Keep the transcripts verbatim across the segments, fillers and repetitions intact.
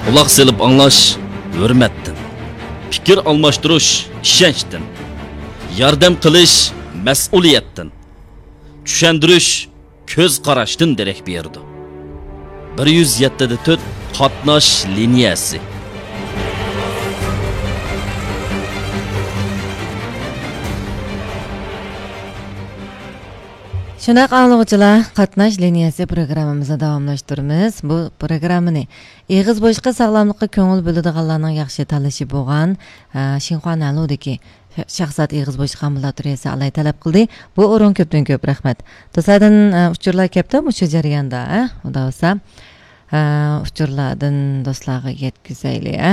قۇلاق سېلىپ ئاڭلاش ھۆرمەتتىن، پىكىر ئالماشتۇرۇش ئىشەنچتىن، ياردەم قىلىش مەسئۇلىيەتتىن، چۈشەندۈرۈش كۆز قاراشتىن دېرەك بېرىدۇ. بىر يۈز يەتتە دە تۆت قاتناش لىنىيەسى. شۇنداق ئاڭلىغۇچىلار، قاتناش لىنىيەسى پروگراممىمىزنى داۋاملاشتۇرىمىز. بۇ پروگراممىنى ئېغىز بوشلۇقى ساغلاملىققا كۆڭۈل بۆلىدىغانلارنىڭ ياخشى تاللىشى بولغان، ئە، شىنخۇا نەنلۇدىكى شاھزات ئېغىز بوشلۇق ئامبۇلاتورىيەسى ئالاي تەلەپ قىلدى. بۇ ئورۇن كۆپتىن كۆپ رەھمەت. دوستلاردىن، ئە، ئۇچۇرلار كەپتۇ مۇشۇ جەرياندا، ئە، خۇدا بولسا. ئە، ئۇچۇرلاردىن دوستلارغا يەتكۈزەيلى، ئە.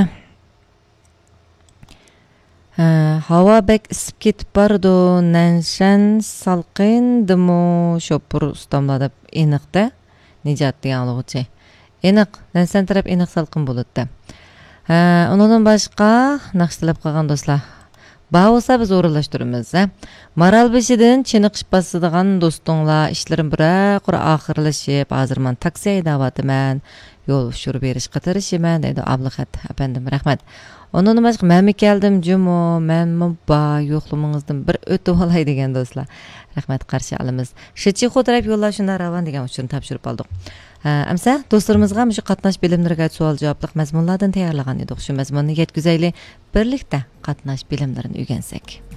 ھە، ھاۋا بەك ئىسسىپ كېتىپ بارىدۇ، نەنشەن سالقىندىمۇ شوپۇر ئۇستاملار دەپ ئېنىق-دە، نىجات دېگەن ئاڭلىغۇچى. ئېنىق، نەنشەن تەرەپ ئېنىق سالقىن بولىدۇ-دە. ھە، ئۇنىڭدىن باشقا ناخشا تەلەپ قىلغان دوستلار بار بولسا بىز ئورۇنلاشتۇرىمىز، ھە. مارالبېشىدىن چېنىقىش باسىدىغان دوستۇڭلار، ئىشلىرىم بىرەر قۇر ئاخىرلىشىپ، ھازىر مانا تاكسى ھەيدەۋاتىمەن. يول ئۇچۇرى بېرىشقا تىرىشىمەن، دەيدۇ ئابلىخەت ئەپەندىم، رەھمەت. ئۇنىڭدىن باشقا، مەنمۇ كەلدىم جۇمۇ، مەنمۇ بار، يوقلىمىڭىزدىن بىر ئۆتۈۋالاي دېگەن دوستلار. رەھمەت، قارشى ئالىمىز. شىچىخۇ تەرەپ يوللار شۇنداق راۋان دېگەن ئۇچۇرنى تاپشۇرۇپ ئالدۇق. ھە، ئەمسە دوستلىرىمىزغا مۇشۇ قاتناش بىلىملىرىگە سوئال جاۋابلىق مەزمۇنلاردىن تەييارلىغان ئىدۇق. شۇ مەزمۇننى يەتكۈزەيلى، بىرلىكتە قاتناش بىلىملىرىنى ئۆگەنسەك.